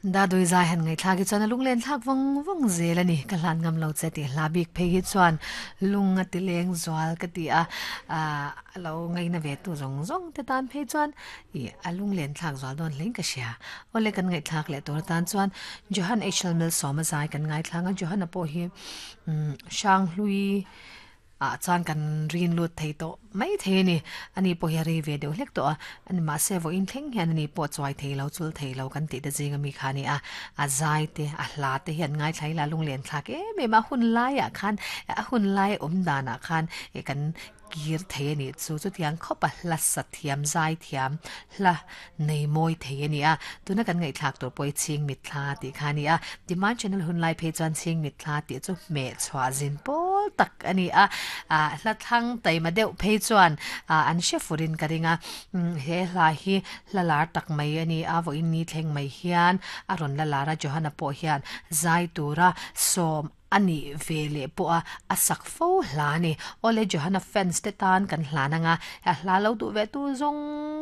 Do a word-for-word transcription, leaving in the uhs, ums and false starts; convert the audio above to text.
Da dui zai han ngai thla ki chuan a lunglen thlak vawng vawng zel ani ka hlan ngam lo che ti hla bik phei hi chuan lung a ti leng zual ka ti a a lo ngai na ve tu zawng zawng te tan phei chuan i a lunglen thlak zual dawn hlein ka hria awle kan ngai thlak leh tur tan chuan Johan H L Malsawma zai kan ngai thlanga Johan a pawh hi um hrang hlui a chuan kan rin lut thei tawh mai thei ani ani pawh hi a rei ve deuh hlek tawh a ani mahse vawiin thleng hian ani pawh chuai thei lo chul thei lo kan tih te zing ami kha ani a a zai te a hla te hi an ngai thlai la lunglen thlak em em a hun laiah khan a hun lai awm danah khan e kan kir thei ani chu chu tiang khawp a hla sa thiam zai thiam hla nei mawi thei ani a tuna kan ngaih thlak tur pawh hi chhing mit thla tih kha ani a demand channel hun lai phei chuan chhing mit thla tih chu hmeh chhuah zin pawl tak ani a a hla thlang taima deuh phei chuan a an hre furin ka ringa he hla hi hla lar tak mai ani a vawiin ni thleng mai hian a rawn la lar a Johana pawh hian zai tura sawm ani ve leh pawh a a sak fo hla ani awle Johana fans te tan kan hlan anga a hla lo duh ve tu zawng